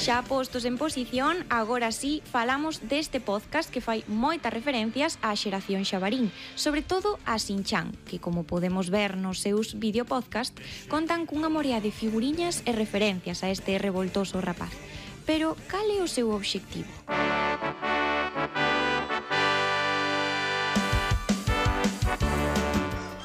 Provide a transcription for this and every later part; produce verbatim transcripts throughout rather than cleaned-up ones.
Xa postos en posición, agora sí falamos deste podcast que fai moitas referencias á xeración xabarín, sobre todo a Shin-chan, que como podemos ver nos seus videopodcast, contan cunha morea de figuriñas e referencias a este revoltoso rapaz. Pero cal é o seu obxectivo?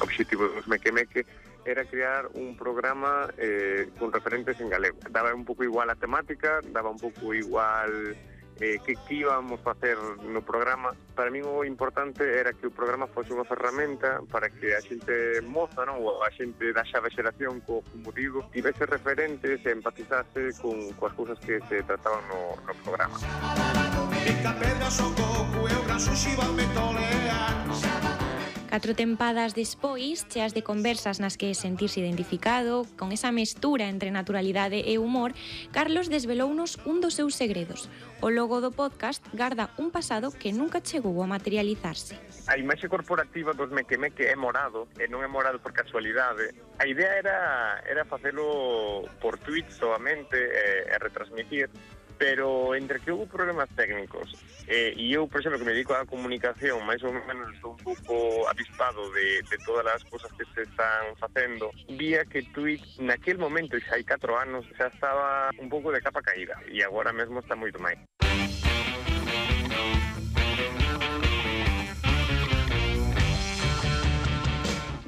O obxectivo dos Meque Meque era crear un programa eh, con referentes en galego. Daba un pouco igual a temática, daba un pouco igual eh, que, que íbamos a facer no programa. Para mí o importante era que o programa fose unha ferramenta para que a xente moza, non? Ou a xente da xave xeración, co, como digo, tivese referentes e empatizase con coas cousas que se trataban no, no programa. Catro tempadas despois, cheas de conversas nas que sentirse identificado, con esa mestura entre naturalidade e humor, Carlos desvelounos un dos seus segredos. O logo do podcast garda un pasado que nunca chegou a materializarse. A imaxe corporativa dos Meque Meque é morado, e non é morado por casualidade. A idea era, era facelo por tweets solamente e, e retransmitir, pero entre que houve problemas técnicos eh, e eu, por exemplo, que me dedico á comunicación, máis ou menos estou un pouco avispado de, de todas as cousas que se están facendo, vía que Twitch naquel momento, xa hai catro anos, xa estaba un pouco de capa caída e agora mesmo está moito máis.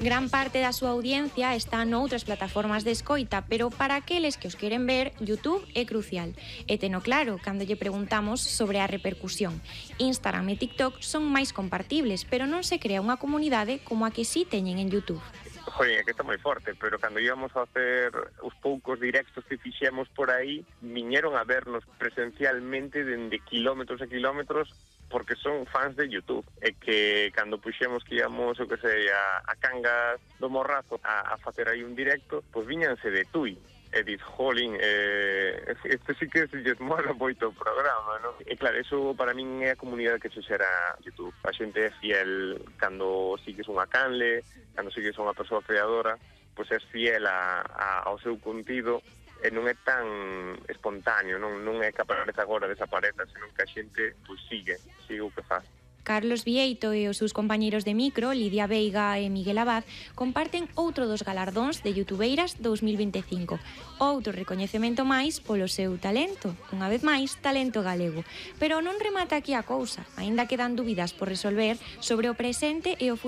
Gran parte da súa audiencia está noutras plataformas de escoita, pero para aqueles que os queren ver, YouTube é crucial. E teno claro cando lle preguntamos sobre a repercusión. Instagram e TikTok son máis compartibles, pero non se crea unha comunidade como a que sí teñen en YouTube. Joder, é que está moi forte, pero cando íbamos a hacer os poucos directos que fixemos por aí, viñeron a vernos presencialmente dende kilómetros e kilómetros porque son fans de YouTube e que cando puxemos que íamos, o que sei, a, a Cangas do Morrazo a, a facer aí un directo, pois viñanse de Tui e dis, jolín, eh, este sí que se lles mola moito o programa, non? E claro, eso para min é a comunidade que se xera YouTube. A xente é fiel cando sigues unha canle, cando sigues unha persoa creadora, pois é fiel a, a, ao seu contido e non é tan espontáneo, non, non é que aparece agora, desapareza, senón que a xente pois, sigue, sigue o que faz. Carlos Vieito e os seus compañeiros de micro, Lidia Veiga e Miguel Abad, comparten outro dos galardóns de Youtubeiras dous mil vinte e cinco. Outro recoñecemento máis polo seu talento, unha vez máis, talento galego. Pero non remata aquí a cousa, aínda quedan dúbidas por resolver sobre o presente e o futuro